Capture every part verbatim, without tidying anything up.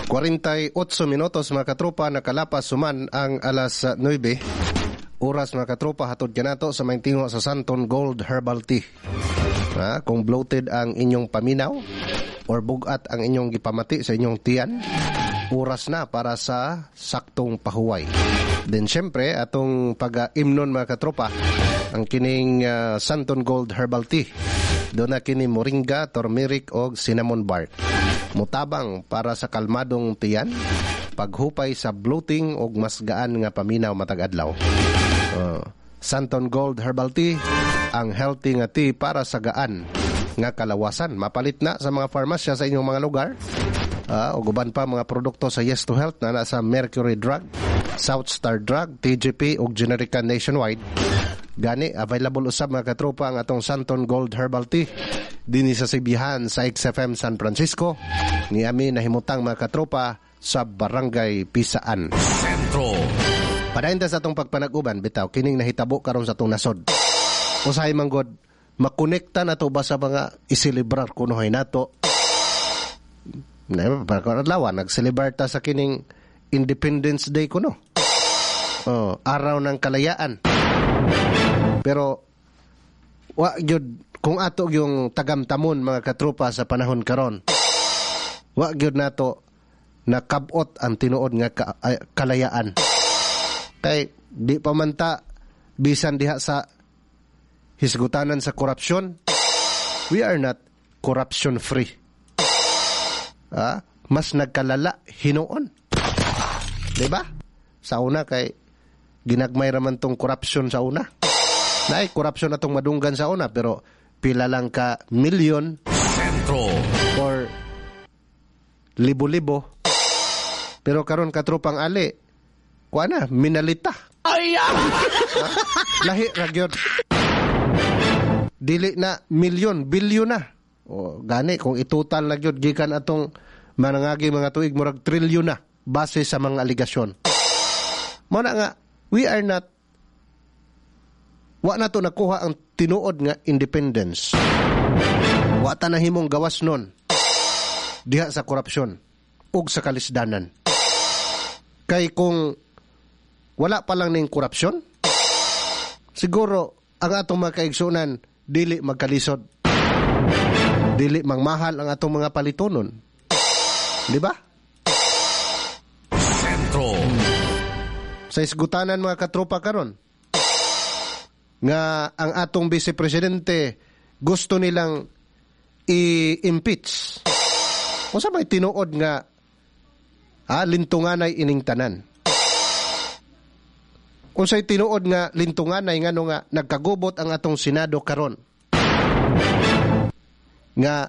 kwarenta y otso minutos, mga katropa, nakalapas suman ang alas nuwebe. Oras, mga katropa, hatod kanato sa may tingo sa Santon Gold Herbal Tea. Ha, kung bloated ang inyong paminaw or bugat ang inyong gipamati sa inyong tiyan, oras na para sa saktong pahuway. Then syempre, atong pag-imnon, mga katropa, ang kining uh, Santon Gold Herbal Tea. Duna kini moringa, turmeric o cinnamon bark. Mutabang para sa kalmadong tiyan, paghupay sa bloating og mas gaan nga paminaw matag adlaw. Uh, Santon Gold Herbal Tea, ang healthy nga tea para sa gaan nga kalawasan. Mapalit na sa mga farmasya sa inyong mga lugar. Uh, ug uban pa mga produkto sa Yes to Health na nasa Mercury Drug, South Star Drug, T G P ug Generika nationwide. Gani, available usab, mga katropa, ang atong Santon Gold Herbal Tea dinhi sa Sibihan sa X F M San Francisco. Ni ami nahimutang, mga katropa, sa Barangay Pisaan. Sentro. Padayon ta sa atong pagpanag-uban bitaw kining nahitabo karon sa atong nasod. Usahay man god makonekta na to ba sa mga iselebrar kunohay nato. Na para adlaw nagselebrar ta sa kining Independence Day kuno. Oh, Araw ng Kalayaan. Pero wa gyud, kung ato yung tagamtamon, mga katropa, sa panahon karon. Wa gyud nato nakabot ang tinuod nga ka, ay, kalayaan. Kay di pa man ta bisan diha sa hisgutanan sa korupsyon, we are not corruption free. Ah, mas nagkalala hinuon. Di ba? Sa una kay ginagmay raman tong corruption sa una. Naay corruption atong madunggan sa una, pero pila lang ka milyon Sentro. or libo-libo. Pero karon, katropang Ali, kuha na, minalita. Ay! Lahi ra gyud. Dili na milyon, bilyon na. O gani kung itotal na gyud gikan atong manangagi mga tuig, murag trilyon na base sa mga aligasyon. Mao na nga we are not, wa na to nakuha ang tinuod nga independence. Wa ta nahimong gawas nun diha sa korupsyon ug sa kalisdanan. Kay kung wala pa lang ning korupsyon, siguro ang atong mga kaigsunan dili magkalisod. Dili mangmahal ang atong mga palitonon. Di ba? Sentro. Sa isgutanan, mga katropa, karon nga ang atong vice presidente gusto nilang i-impeach. Unsa may tinuod nga ah, lintunganay ining tanan? Unsay tinuod nga lintunganay ngano nga nagkagubot ang atong Senado karon? Nga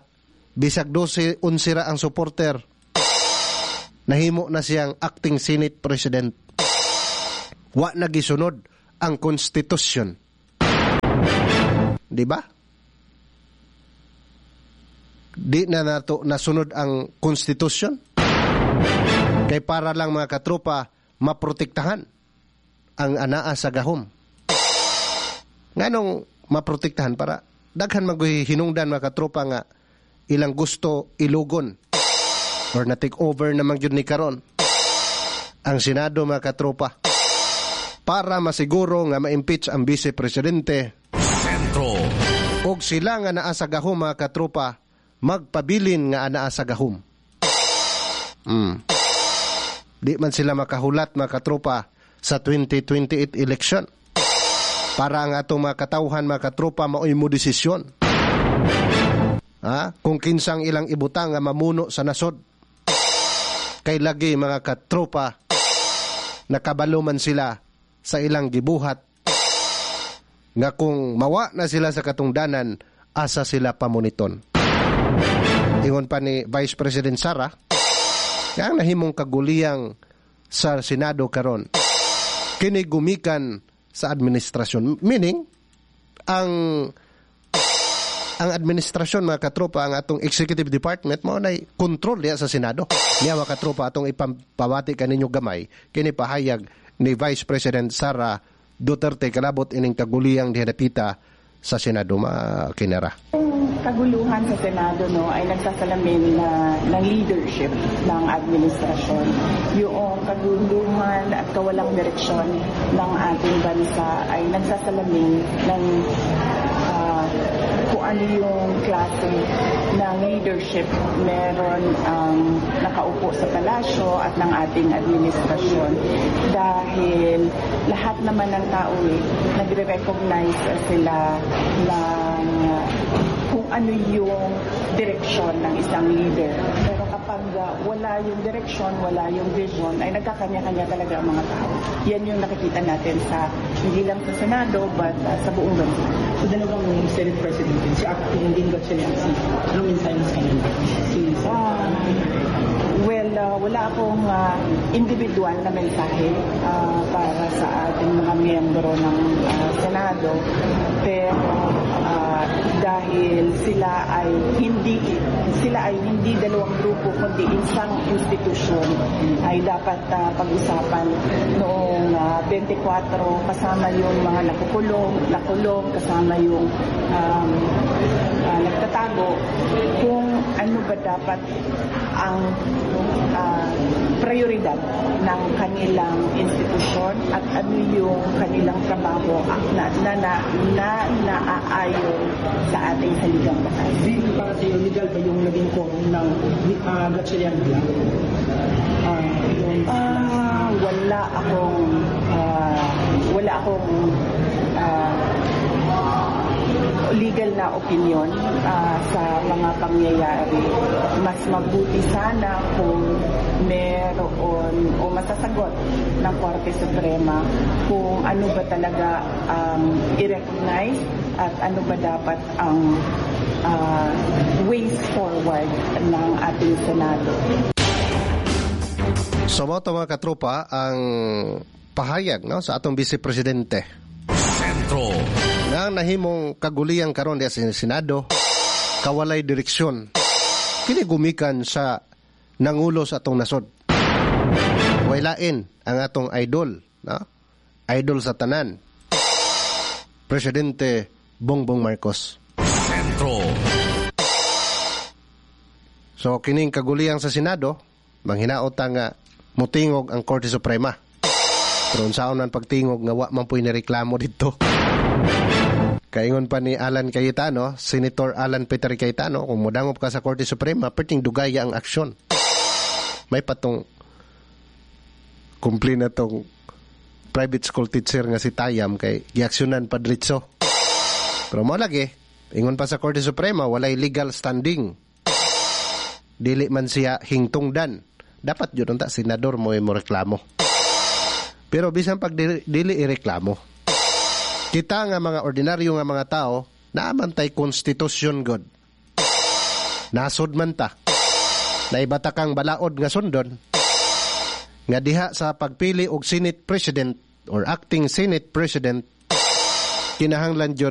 bisag dose onse ra ang supporter, nahimo na siyang acting Senate President. Wa na gisunod ang Constitution. Di ba? Di na nato nasunod ang Constitution. Kay para lang, mga katropa, maprotektahan ang anaa sa gahom. Nganong maprotektahan? Para daghan mag hinungdan, mga katropa, nga ilang gusto ilugon or na take over naman gyud ni karon ang Senado, mga katropa, para masiguro nga ma-impeach ang vice presidente Sentro. og sila nga naa sa gahom, mga katropa, magpabilin nga anaa sa gahom. Mm. Di man sila makahulat, mga katropa, sa twenty twenty-eight election. Para ang atong mga katawhan, mga katropa, maoy mo desisyon. Ha? Kung kinsang ilang ibutang nga mamuno sa nasod. Kay lagi, mga katropa, nakabalo man sila sa ilang gibuhat nga kung mawa na sila sa katungdanan, asa sila pamuniton. Ingon pa ni Vice President Sara, nga ang nahimong kaguliyang sa Senado karon kini gumikan sa administrasyon. Meaning, ang ang administrasyon, mga katropa, ang atong executive department mao nay control diya sa Senado. Niya, mga katropa, atong ipapawati kaninyo gamay kini pahayag ni Vice President Sara Duterte kalabot ining kaguliyang diha dapita sa Sa Senado makinara. Yung kaguluhan sa Senado, no, ay nagsasalamin na ng leadership ng administrasyon. Yung kaguluhan at kawalang direksyon ng ating bansa ay nagsasalamin ng ah, kung ano yung klase ng leadership meron ang nakaupo sa palasyo at ng ating administrasyon, dahil lahat naman ng tao eh, nagre-recognize sila ng uh, kung ano yung direksyon ng isang leader. Pero kapag uh, wala yung direksyon, wala yung vision, ay nagkakanya-kanya talaga ang mga tao. Yan yung nakikita natin sa hindi lang sa Senado but uh, sa buong bansa. So dalawang Senate President din, si acting Lynn Gatchalian, si anong mensahe mo sa kanila? Si Ah, well, uh, wala akong uh, individual na mensahe uh, para sa ating mga miyembro ng uh, Senado. Pero uh, dahil sila ay hindi sila ay hindi dalawang grupo kundi isang institusyon, ay dapat uh, pag-usapan noong uh, twenty-four, kasama yung mga nakukulong, nakulong, kasama yung um, uh, nagtatago, kung ano ba dapat ang uh, prioridad ng kanilang institusyon at ano yung kanilang trabaho na na na, na naaayon sa ating saligang batas. Bill, para sa iyo, legal ba yung naging quorum ng uh, Gatchalian bilang? Ah, yung Ah, wala akong ah, wala akong ah, legal na opinion ah, sa mga pangyayari. Mas mabuti sana kung meron o masasagot ng Korte Suprema kung ano ba talaga ang i-recognize at ano ba dapat ang ah, ways forward ng ating Senado. So mao to, mga katropa, ang pahayag, no, sa atong Vice Presidente Sentro. Na ang nahimong kaguliyang karon diya sa Senado, kawalay direksyon. Kini gumikan sa nangulo sa atong nasod. Wailain ang atong idol, no? Idol sa tanan. Presidente Bongbong Marcos. Sentro. So kining kaguliyang sa Senado, manghinaot nga mutingog ang Korte Suprema. Pero unsaon man pagtingog nga wa man puy nireklamo dito? Kaingon pa ni Alan Cayetano, Senator Alan Peter Cayetano, kung modangop ka sa Korte Suprema, perting dugaya ang aksyon. May patong kumpli na tong private school teacher nga si Tayam kay giaksyonan pa diretso. Pero mo lagi, ingon pa sa Korte Suprema, walay legal standing, dili man siya hingtungdan. Dapat yun unta senador mo mo reklamo. Pero bisan pag dili, dili ireklamo, kita nga mga ordinaryo nga mga tao, naa man tay konstitusyon god. Nasod man ta. Naibata kang balaod nga sundon nga diha sa pagpili og Senate President or acting Senate President, kinahanglan jud